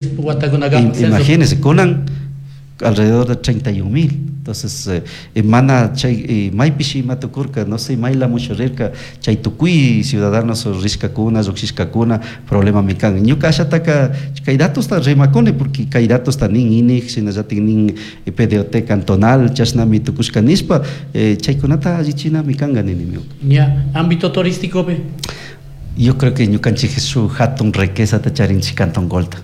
Watakunakama. Imagínense, kunan alrededor de 31 mil. Entonces, mana chay maypishi ima tukurka, no sé, maylamush rirka, chay tukuy ciudadanos rishkakuna, llukshishkakuna, problemami kan. Ñuka ashataka kay datosta rimakuni porque kay datosta nin INEG, shinallatik nin PDOT cantonal, chashnami tukushka nishpa, chaykunata allichinami kanka nini ñuka. Ya, ámbito turístico pe. Yo creo que ñukanchik shuk hatun riquezata charinchik Cantón Colta.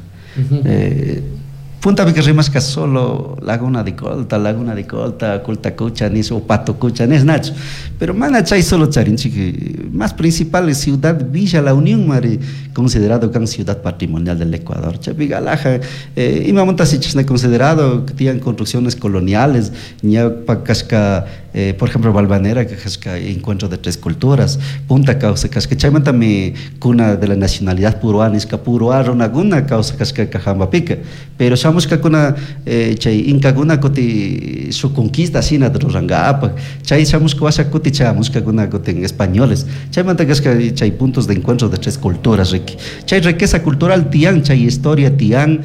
Puntapika rimashka solo Laguna de Colta, Laguna de Colta, Colta Cocha nish o Pato Cocha nish nachu. Pero mana chay solo charinchik, más principal es Ciudad Villa La Unión mari considerado kan ciudad patrimonial del Ecuador. Chaypika alhaja, imamantashi chashna considerado, tiyan construcciones coloniales, ñawpa kashka, por ejemplo, Valvanera, que kashka encuentro de tres culturas, punta kawsa kashka, chaymantami cuna de la nacionalidad puruá nishka, puruá runakuna kawsa kashka Cajambapika. Pero shamushkakuna, chay inkakuna kuti shuk conquista shina rurankapak, chay shamushka washa kuti chamushkakuna kutin españoles, chaymanta kashka chay puntos de encuentro de tres culturas, riki. Chay riqueza cultural tiyan, chay historia tiyan,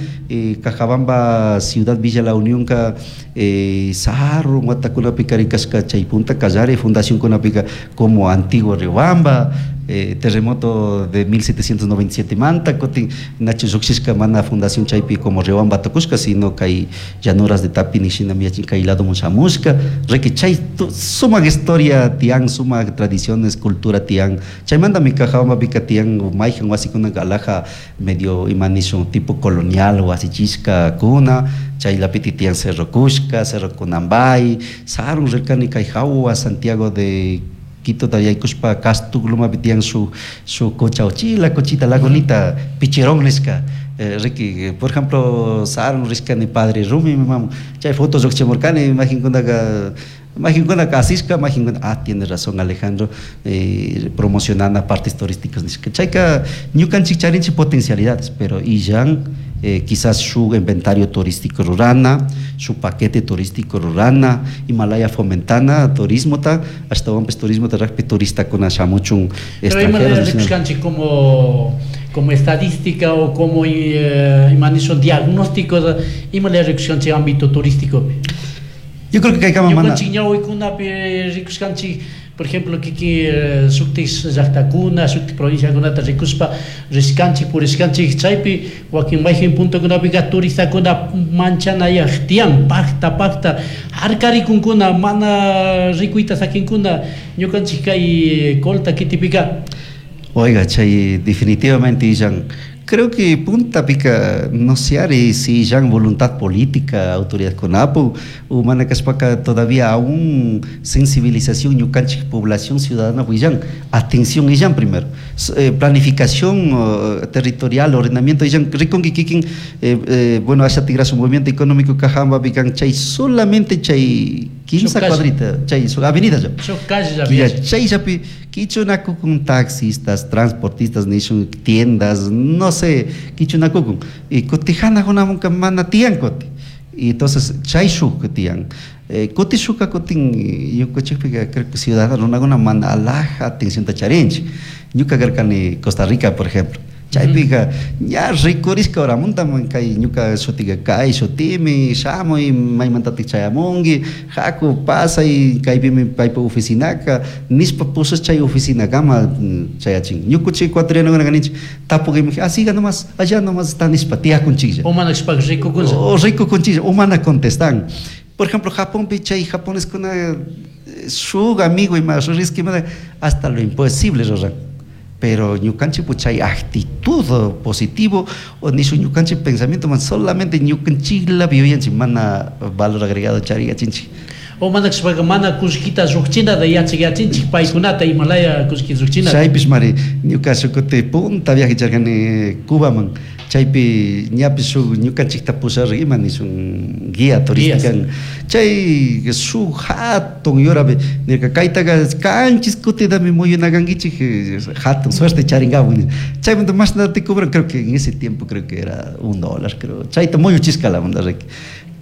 Cajabamba, Ciudad Villa La Unión ka, sarun watakunapika rikashka chay punta kallari fundación kunapika como Antiguo Riobamba, terremoto de 1797 manta, kutin nachu llukshishka mana fundación chaypi como Riobamba tukushka, sino kay llanuras de Tapini shina yachin kay ladomun shamushka, riki chay sumak historia tiyan, sumak tradiciones, cultura tiyan, chaymantami Cajabambapika tiyan mayjan wasikunaka alhaja medio ima nishun tipo colonial wasichishka kuna, chaylapiti tiyan Cerro Cushca, Cerro Cunambay, sarun rirkani kay jawa Santiago de Quito yaykushpa Castuglumapi tiyan shuk cocha uchila, cochita, lagunita, Picherón nishka. Riki, por ejemplo, sarun rishkani Padre Rumi, mi mamu, chay fotos llukchimurkani, imaginkunaka, imaginkunaka asishka, imaginkuna, ah, tiene razón Alejandro, promocionando partes turísticas nishka. Chayka ñukanchik charinchik potencialidades, pero illan, quizás su inventario turístico rurana, su paquete turístico rurana, Himalaya fomentana, turismo ta, hasta pues turismo ta rakpi turista kuna shamuchun Pero extranjeros, Himalaya dicen. rikushkanchik como estadística o como ima nishun diagnóstico, Himalaya rikushkanchik ámbito turístico. Yo creo que kay mana Ñukanchik ñawikunapi rikushkanchik, por ejemplo, kiki, shuktik llaktakuna, shuktik provinciakunata rikushpa rishkanchik, purishkanchik, chaypi wakin mayjin puntokunapika turistakuna manchanayaj tiyan, pakta, pakta, harkarikunkuna, mana rikuyta sakinkuna, ñukanchik kay Colta kitipika. Oiga, chay definitivamente illan, creo que puntapika no se haré si ya voluntad política, autoridad CONAPO, o mana kashpaka todavía aún sensibilización ñukanchik población ciudadana huillan, atención illan primero, planificación territorial, ordenamiento illan, rikunki kikin, bueno, asha tigrasu movimiento económico Cajamba pican chay solamente chay quince Shuk calle. cuadrita, chay su avenida ya. Shuk calle ya Quilla, había. chay yapi, quichunakukun taxistas, transportistas, nishun tiendas, no sé, quichunakukun. Y kutijana junamunka mana tiyan kuti. Y entonces, chay shuk tiyan. Kuti shuka kutin, ñukanchikpika, creo que ciudadano runakuna mana alhaja atención ta charinchik. Ñuka karkani Costa Rica, por ejemplo. Chaypika, ña rikurishka horamunta kay ñuka shutika kay shutimi, shamuy, maymantatik chayamunki, haku pasay, kaypimi paypa oficinaka, nishpa pusas chay oficinakama, chayachin. Ñukuchik ecuatorianokuna kaninchik, tapukimi, ah, siga nomás, allá nomás está nishpa, tiyakunchiklla. O mana kashpaka rikukunlla. O rikukunchiklla, o mana contestan. Por ejemplo, Japónpi chay japoneskuna, shuk amigo ima, shuk riski ima, hasta lo imposible ruran. Pero ñukanchik pues, chay actitud positivo o nishu ñukanchik pensamiento man solamente ñukanchikla vivianchik mana valor agregado chariyachinchik. O mana kashpaka mana kullkita llukchinata yachayachinchik paykunata Himalaya kullkita llukchinata. Chaypish mari ñuka shukuti punta viaje charkani Cubaman, chaypi ñapish shuk ñukanchikta pusharri ima nishun guía turística. Guías. Chay shuk hatun yurapi nirka kaytaka kanchis kutitami muyunakankichik, hatun suerte charinkapu nishpa. Chaymanta mashnata te cobran, creo que en ese tiempo creo que era un dólar, creo. Chayta muyuchishka la onda, Ricky.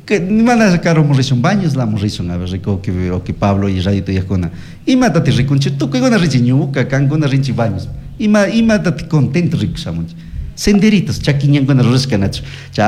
Que mana caro morrishun baños la morrishun, a ver, rico que, o que Pablo y Radio Tuyajuna. Ima tati rikunchi, tukuykuna rinchi ñuka, kankuna rinchi baños. Ima, ima tati contento rico shamunchi. Senderitos, chaki ñankuna rurashka nachu.